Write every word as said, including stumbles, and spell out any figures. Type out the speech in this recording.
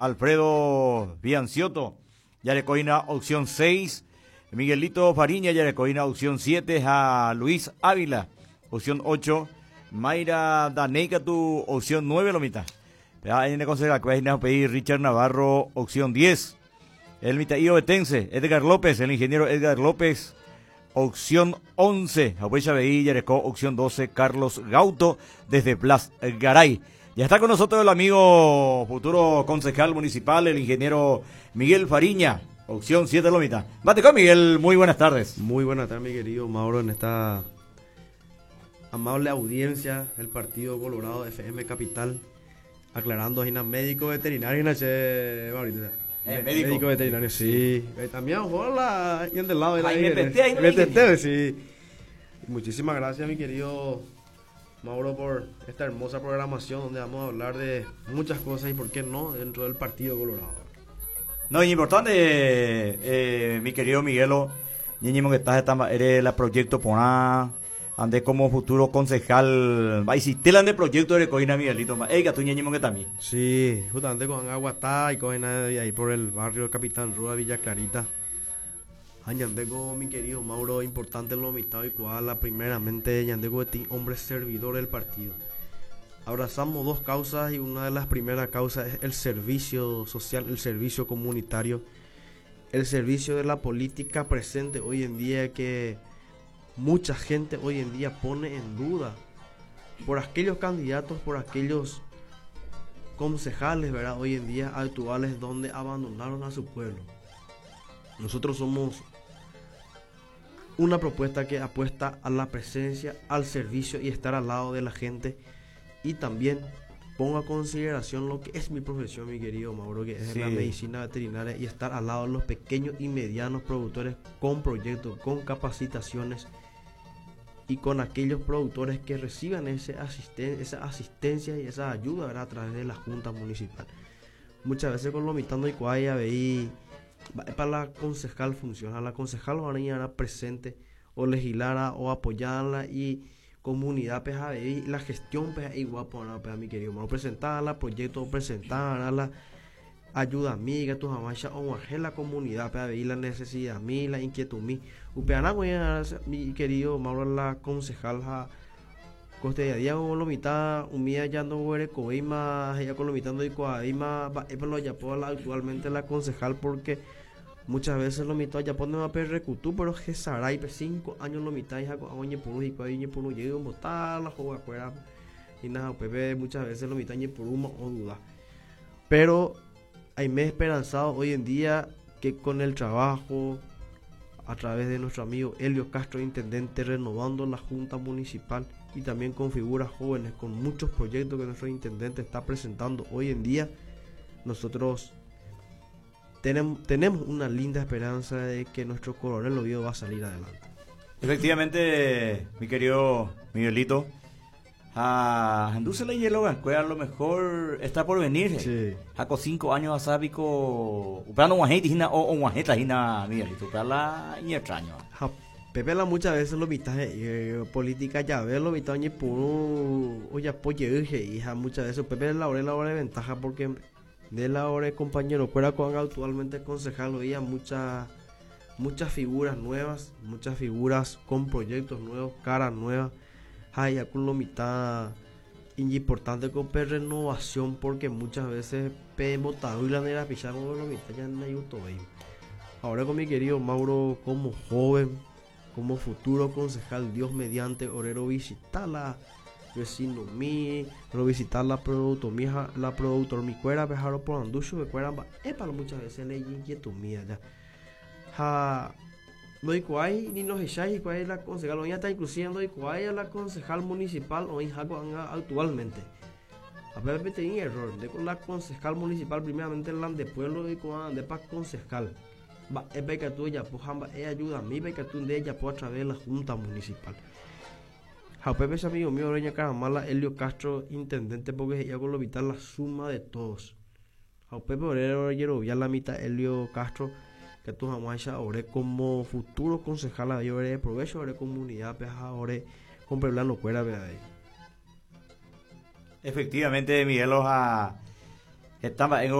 Alfredo Bianciotto, jarekohína opción seis, Miguelito Fariña, jarekohína opción siete, a Luis Ávila, opción ocho, Mayra Daney katu, opción nueve, lo mitad. En el concejal, Richard Navarro, opción diez. El mitad ovetense, Edgar López, el ingeniero Edgar López, opción once. Abuela jareko, opción doce, Carlos Gauto, desde Blas Garay. Ya está con nosotros el amigo futuro concejal municipal, el ingeniero Miguel Fariña, opción siete, lo mitad. Bate Miguel, muy buenas tardes. Muy buenas tardes, mi querido Mauro, en esta amable audiencia del Partido Colorado F M Capital. Aclarando, hay médico veterinario, che, Maurito. Eh, médico. Médico veterinario, sí. Eh, también, hola, y del lado de la ahí M T T, sí. Muchísimas gracias, mi querido Mauro, por esta hermosa programación donde vamos a hablar de muchas cosas y, por qué no, dentro del Partido Colorado. No, y importante, eh, mi querido Miguelo, ñeñemo que estás, eres la proyecto porã, ande como futuro concejal, va y si de proyecto de coina Miguelito, ey, tu ñeñemo que también. Sí, justamente con Aguatá y con ahí por el barrio Capitán Rúa, Villa Clarita. Ñandeko, mi querido Mauro, importante lo mitad y la primeramente ñandeko de ti, hombre servidor del partido. Abrazamos dos causas y una de las primeras causas es el servicio social, el servicio comunitario, el servicio de la política presente hoy en día que mucha gente hoy en día pone en duda por aquellos candidatos, por aquellos concejales, ¿verdad? Hoy en día actuales donde abandonaron a su pueblo. Nosotros somos una propuesta que apuesta a la presencia, al servicio y estar al lado de la gente y también pongo a consideración lo que es mi profesión, mi querido Mauro, que es la medicina veterinaria y estar al lado de los pequeños y medianos productores con proyectos, con capacitaciones y con aquellos productores que reciban ese asisten esa asistencia y esa ayuda, ¿verdad?, a través de la Junta Municipal. Muchas veces con lo mitando y cuaya veí para la concejal funciona, la concejal van a presente o legislara o apoyarla y comunidad pues la gestión pues igual pues mi querido Mauro, presentarla proyecto, presentarla ayuda amiga tu mamá o la comunidad pues la necesidad mi la inquietud mi upeana mi querido Mauro, la concejal ja coste día día como lo mitad un día ya no huele coima ya con lo mitad no y coima lo ya la actualmente la concejal, porque muchas veces lo mitad ya pone a perrecutú, pero que sarai cinco años lo mitad ya oñe por y oñe por llego botar la juega fuera y nada pepe, muchas veces lo mitad por uno o duda, pero hay me esperanzado hoy en día que con el trabajo a través de nuestro amigo Elio Castro, intendente, renovando la junta municipal y también con figuras jóvenes, con muchos proyectos que nuestro intendente está presentando hoy en día, nosotros tenemos, tenemos una linda esperanza de que nuestro Coronel Oviedo va a salir adelante. Efectivamente, mi querido Miguelito, a la hielo a lo mejor está por venir. Sí. Con cinco años asábico, upea no hina o o hina Miguelito, upea la extraño. Pepe la muchas veces lo mitad eh, política ya ve lo mitad por o ya hija muchas veces Pepe la hora la hora de ventaja porque de la hora compañero fuera con actualmente concejal hoy muchas muchas figuras nuevas, muchas figuras con proyectos nuevos, caras nuevas. Hay con lo mitad importante con renovación porque muchas veces pe botado y la nera pichamos lo mitad ya no hay. Ahora con mi querido Mauro como joven, como futuro concejal, Dios mediante, orero visitar vecino mi, ro visitar la productor mi, la productor mi cuera, pejaro por anducho, me cuera, epa, muchas veces le inquietud mía ya. Ja, no hay ni nos echáis cuál es la concejal, hoy está inclusive no hay la concejal municipal hoy actualmente. A ver, tenía error, de con la concejal municipal primeramente la de pueblo y con de pa concejal. Va, es que tú ya pues ella ayuda a mí, que tú de ella pues a través de la junta municipal. Pepe es amigo mío, Reña Caramala, Elio Castro, intendente, porque ella con lo vital la suma de todos. Pepe Obrero, ya la mitad Elio Castro, que tú jamás ahora como futuro concejal, yo veré provecho, ahora comunidad, pues ahora con pueblano cuera, ahí. Efectivamente, Miguel, a estaba en